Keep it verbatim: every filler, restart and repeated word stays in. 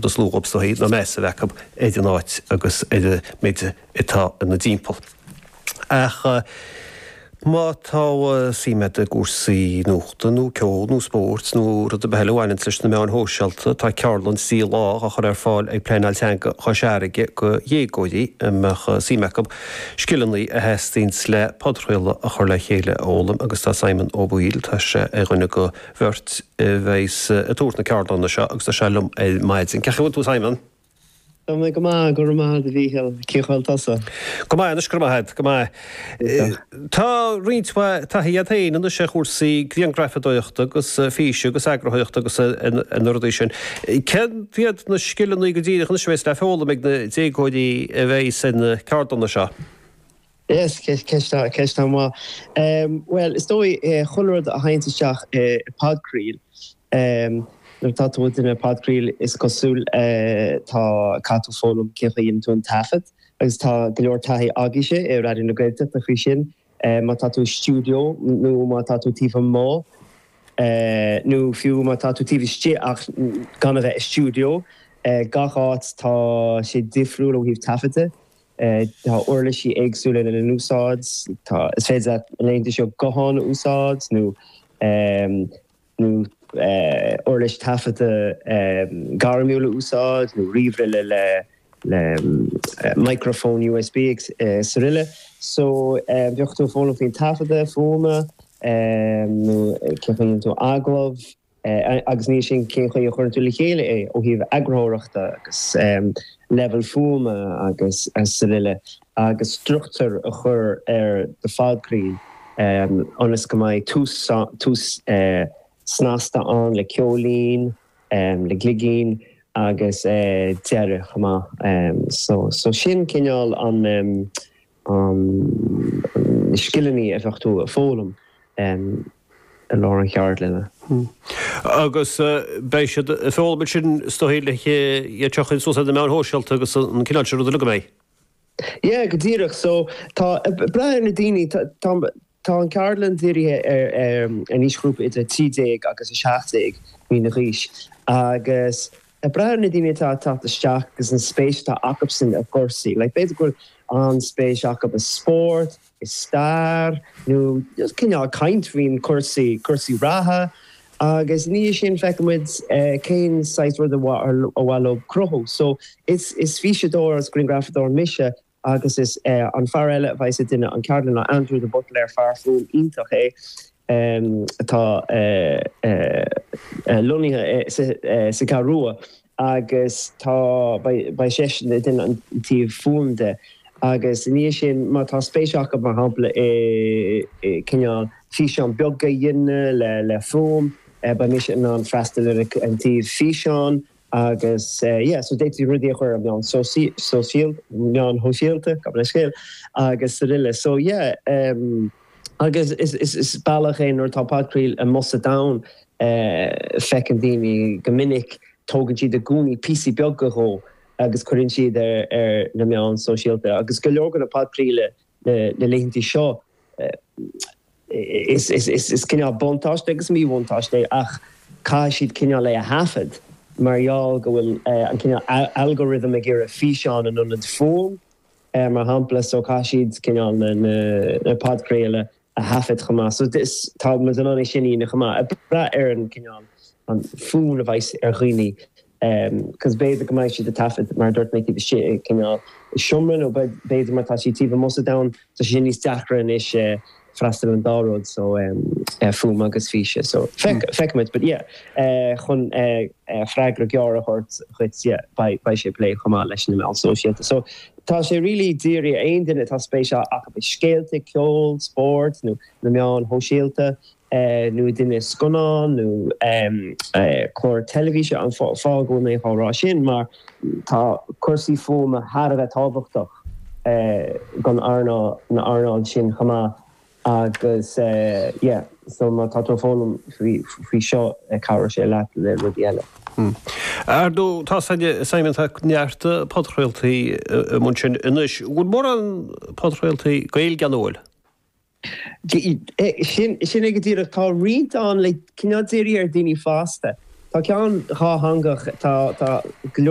is lú dhóibh is dóichí ná meas a bheith acu ar an áit agus ar an méid atá ina dtimpeall. Ach má tá suim agat i gcúrsaí nuachta nó ceol nó spóirt nó rud ar bith eile a bhaineanns leis na meáin shóisialta, tá ceardlann trí lá á chur ar fáil ag Pleanáil Teanga Chois Fharraige do dhéagóirí a mbeadh suim acu scileanna a theastaíonns le podchraoladh a chur le chéile a fhoghlaim agus tá Simon Ó Baoill, tá sé ar dhuine de bheirt a bheas ag tabhairt na ceardlanna seo agus tá sé liom ar maidin. Cén chaoi a bhfuil tú Simon? Tá mé go maith, go raibh maith agat a Mhíchíl. Cén chaoi a bhfuil tusa? Go maith anois, go raibh maith agat, go maith. Tá roinnt mhaith taithí agat féin anois ar chúrsaí grianghrafadóireachta agus físe agus eagarthóireachta agus na rudaí sin. Céard iad na scileanna go díreach anois a bheas le foghlaim ag na déagóirí a bheas ar na ceardlanna seo? Yes, ceist ceist an-mhaith. Bhuel, is dóigh chuile rud a théann isteach i podchraoladh. Nuair atá tú ag déanamh podchraoladh is cosúil tá caithfidh tú foghlaim cén chaoi a dhéanann tú an taifead agus tá go leor taithí agaibhse i Raidió na Gaeltachta faoi sin. Má tá tú i stiúideo nó má tá tú taobh amuigh nó fiú má tá tú taobh istigh ach gan a bheith i stiúideo, gach áit tá sé difriúil ó thaobh taifeadta. Tá uirlisí éagsúla lena n-úsáid. Tá is féidir leat na laethanta seo guthán a úsáid nó nó uirlis taifeadta gairmiúil a úsáid nó ríomhaire le le microphone USB is araile. So bheadh tú ag foghlaim faoin taifeadadh fuaime nó cén chaoi a dhéanann tú agallamh agus ní sin cén chaoi a chuireann tú le chéile é ó thaobh eagarthóireachta agus leibhéal fuaime agus araile agus struchtúr a chur ar do phodchraoladh ionas go mbeidh tús tús snasta ann le ceoilín, le gligín agus deireadh chomh maith. So so sin cineál an an na scileanna a bheadh tú ag foghlaim i lár an cheardlainne. Agus beidh siad ag foghlaim sin is dóigh le iad seo a chur suas ar na meáin shóisialta agus an cineál sin ruda uilig an mbeidh? Yeah, go díreach. So tá brath ar na daoine tá tá an ceardlann dírithe ar ar an aoisghrúpa idir trí déag agus a seacht déag bliana d'aois agus ag brath ar na daoine atá ag teacht isteach agus an spéis atá acusan i gcúrsaí. Like b'fhéidir go bhfuil an-spéis acu i spórt, i stair nó just cineál caint faoin cúrsaí cúrsaí reatha agus ina dhiaidh sin feicfidh muid cén saghas rud a mhaith leo cruthú. So is is físeadóir agus grianghrafadóir mise agus is an fear eile a bheas ag déanamh an ceardlann ná Andrew de Buitléir fear fuaim iontach é atá lonnaithe sa Cheathrú Rua agus tá beidh seisean ag déanamh an taobh fuaim de agus ina dhiaidh sin má tá spéis acu mar shampla i cineál físeán beag a dhéanamh le le fuaim beidh mise in ann freastal ar an taobh físeán agus yeah so d'fhéadfaí rudaí a chur ar meán sóisialta meáin shóisialta gabh mo leithscéal agus araile so yeah um, agus is, is, is bealach é nuair atá podchraoladh amuigh sa domhan feiceann daoine go minic tógann siad i gcónaí píosaí beaga dhó agus cuireann siad ar ar na meáin sóisialta agus go leor de na podchraoltaí na laethanta seo is is is is cineál buntáiste agus míbhuntáiste ach caithfidh siad cineál é a thaifead mar gheall go bhfuil an cineál algorithm ag iarraidh físeán in ionad fuaim mar shampla so caithfidh siad cineál na na podchraoladh a thaifead chomh maith. So tá muid in ann é sin a dhéanamh chomh maith. Ag brath ar an cineál an fonn a bheas ar dhaoine cos b'fhéidir go mbeidh siad ag taifead mar dúirt mé taobh istigh i cineál i seomra nó b'fhéidir mar tá siad taobh amuigh sa domhan tá sé níos deacra anois freastal ar an dá rud so fuaim agus físe so feicfimid but yeah chun freagra gearr a thabhairt dhuit yeah beidh sé ag plé chomh maith leis na meáin sóisialta so tá sé really dírithe aon duine atá spéis acu i scéalta ceol spórt nó na meáin shóisialta nó duine scannán nó clár teilifíse an fáth go bhfuil mé á rá sin mar tá cúrsaí fuaime thar a bheith tábhachtach don earnáil na earnáil sin chomh maith agus yeah so má tá tú ag foghlaim faoi faoi seo cabhróidh sé leat le rudaí eile. Ar ndóigh tá Simon tá neart podchraoltaí i mbun sin anois. Bhfuil mórán podchraoltaí Gaeilge ann an bhfuil? Sin sin é go díreach tá roinnt ann le cineál dírithe ar daoine fásta. Tá ceann dhátheangach tá tá go leor